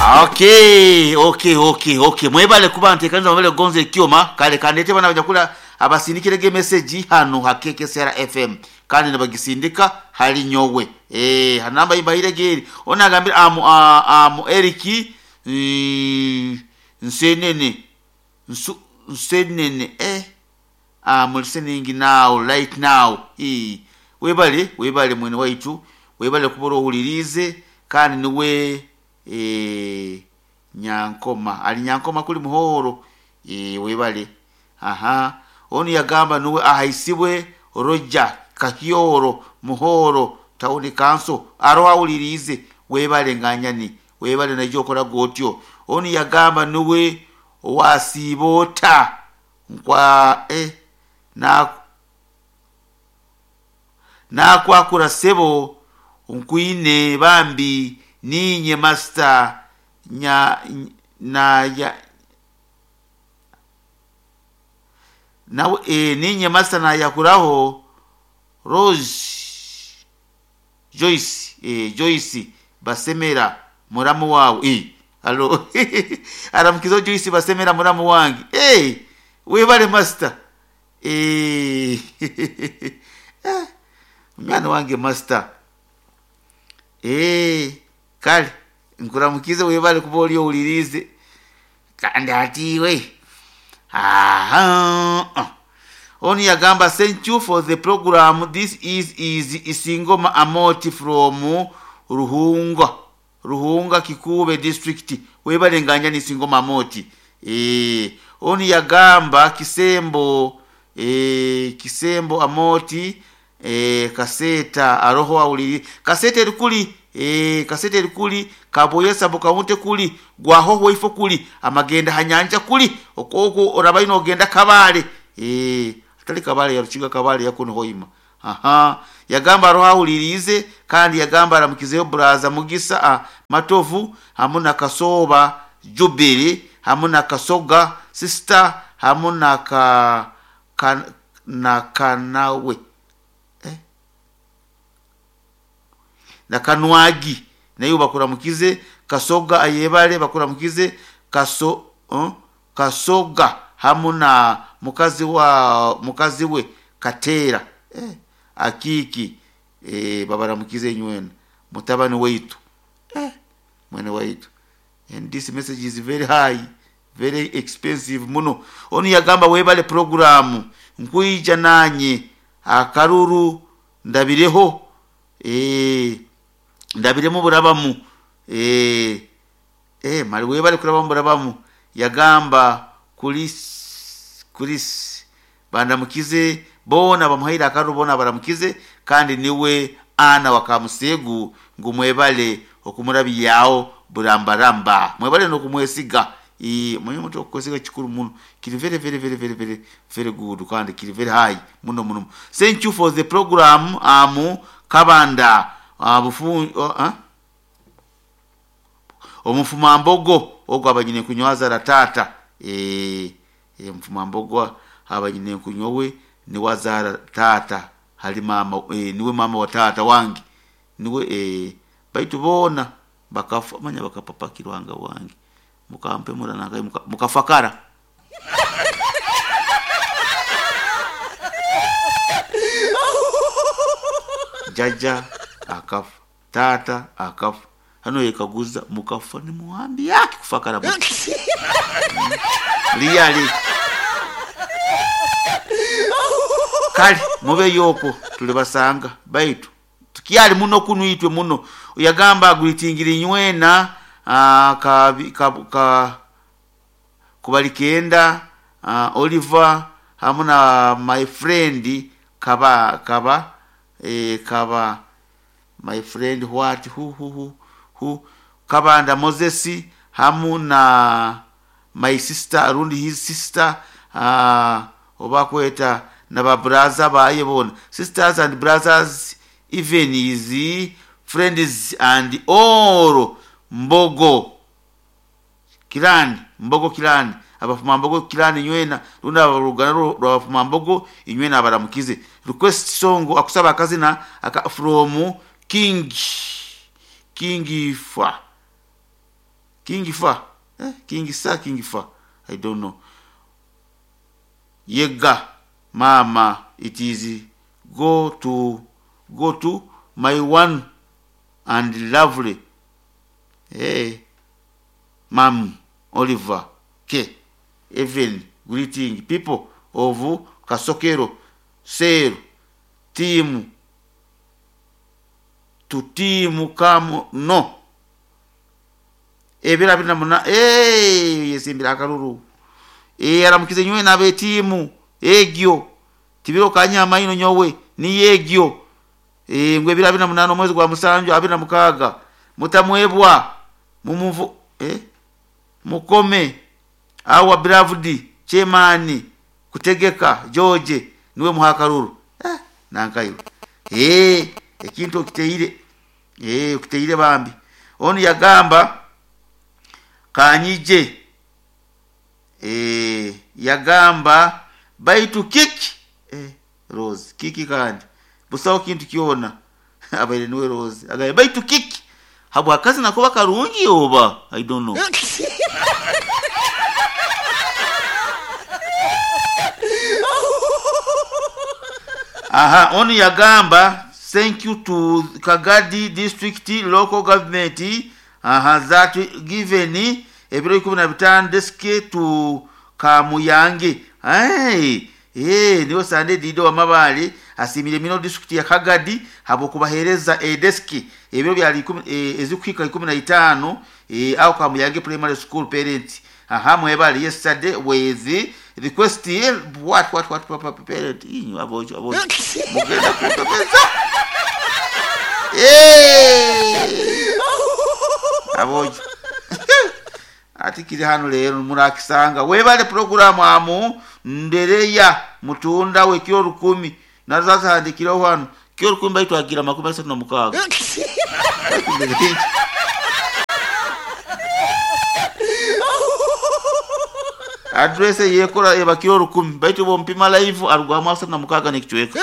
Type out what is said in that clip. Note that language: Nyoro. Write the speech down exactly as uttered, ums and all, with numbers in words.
Okay, okay, okay, okay. Mwebale kuba ntekanza mwebale kugonza ekyoma kale kandete bana bajakula abasindikirege message hano ha K K S R F M kandi nabagisindika hali nyowe eh hanamba imbahirege ona agambira amu amu Eric mm, nsenene nsu, nsenene eh I'm listening now right now eh webale webale mwene waitu webale kuboro hulirize kandi niwe eh Nyankoma ali Nyankoma kuli muhoro eh webale aha oni yagamba nuwe ahaisibwe Roger Kahyoro muhoro tauni kanso aroha ulirize webale nganyani webale najokora gotyo oni yagamba nuwe wasibota nkwa eh na na kwakura sebo nkuine bambi ninye master nya na ya na e, ninye master na yakuraho Rose Joyce eh Joyce basemera muramu wawe eh alo aramukizo Joyce basemera muramu wange eh webale master eh mwana wange master eh kale nkuramukize webale kuba oli owulirize kandi atiwe aha oni yagamba thank you for the program this is is Isingoma Amoti from Ruhunga Ruhunga Kikube district webale nganya ni Isingoma Amoti eh oni yagamba Kisembo eh Kisembo Amoti eh kaseta aroho awuliri kaseta erikuli eh kasete erikuli kaboyesa bukaunte kuli gwahoho ifo kuli amagenda hanyanja kuli okoko orabaino ogenda kabale eh atali kabale yaruchiga kabale yakono hoima aha yagamba roho awulirize kandi yagamba aramukizeyo braza mugisa a, matovu hamuna kasoba jubili hamuna kasoga sister hamuna ka, ka na kanawe eh? na kanwagi nayo bakuramukize kasoga ayebale bakuramukize kaso uh, kasoga hamuna mukazi wa mukazi we katera eh, akiki eh, babaramukize nywena mutabani waitu eh, mwene waitu and this message is very high very expensive muno oni yagamba webale programu nkuija nanye akaruru ndabireho eh ndabiremo burabamu eh eh mali webale kurabamu burabamu yagamba kulis kulis bandamukize bona bamuhaira akaruru bona baramukize kandi niwe ana wakamusegu ngumwebale okumurabiyao burambaramba mwebale no kumwesiga i mwenye mtu okwesiga chikuru muno kiri very very very very very very good kandi kiri very high muno muno thank you for the program amu kabanda abufu uh, uh, omufumambogo ogwo abanyine kunywaza ratata eh e, mfumambogo abanyine kunyowe ni wazara tata hali mama e, niwe mama wa tata wange niwe e, baitu bona bakafa manya bakapapakirwanga wange mukampe murananga muka, mukafakara jaja akafa tata akafa hano yekaguza mukafa ni muhambi yake kufakara muti liyali kale mube yoko tulibasanga baitu tukyali muno kunuitwe muno yagamba agwitingiri nywena uh, ka, ka, ka kubalikenda uh, Oliver hamuna my friend kaba kaba eh, kaba my friend what who who who, who kabanda Moses hamuna my sister arundi his sister uh, obakweta na ba brother baye bona sisters and brothers even his friends and all mbogo kirani mbogo kirani abafuma mbogo kirani nywena runda abarugana rwabafuma mbogo inywena abaramukize request song akusaba akazina aka from king king fa King Fa eh, King Sa King Fa I don't know. Yega mama, it is go to go to my one and lovely hey, Mam Oliver K Even greeting people of Kasokero Sero team to team come no ebira bina muna eh yesimbira akaruru eh aramukize nywe nabe timu egyo tibiro kanyama ino nyowe ni yegyo eh ngwe ebira bina munano mwezi gwa musanju abina mukaga mutamwebwa mumuvu eh mukome awa beloved chairman kutegeka George niwe muhakaruru eh nankayo eh ekintu okiteire eh okiteire bambi onu yagamba kanyije eh yagamba baitu kiki eh Rose kiki kandi busawo kintu kiona abaire niwe Rose agaye baitu kiki habwa kazi nakuba karungi oba I don't know. Aha, onu yagamba thank you to Kagadi district local government aha that given ebiro ikumi na bitano desk to Kamuyange. Hey, eh niwe Sande Dido wa Mabale asimire mino district ya Kagadi habo kubahereza e desk ebiro bya e, ezikwika ikumi na itano e, au Kamuyange primary school parent. Aha mwebale yesterday with request what what what what parent inyu abojo abojo mugenda kutopeza eh abojo ati kiri hano lero murakisanga webale program amu ndereya mutunda we kiro rukumi nazaza handikiraho hano kiro rukumi baitu agira makumi asatu na mukaga address yekora eba kiro rukumi baitu bo mpima live arugwamu asatu na mukaga nekichweka.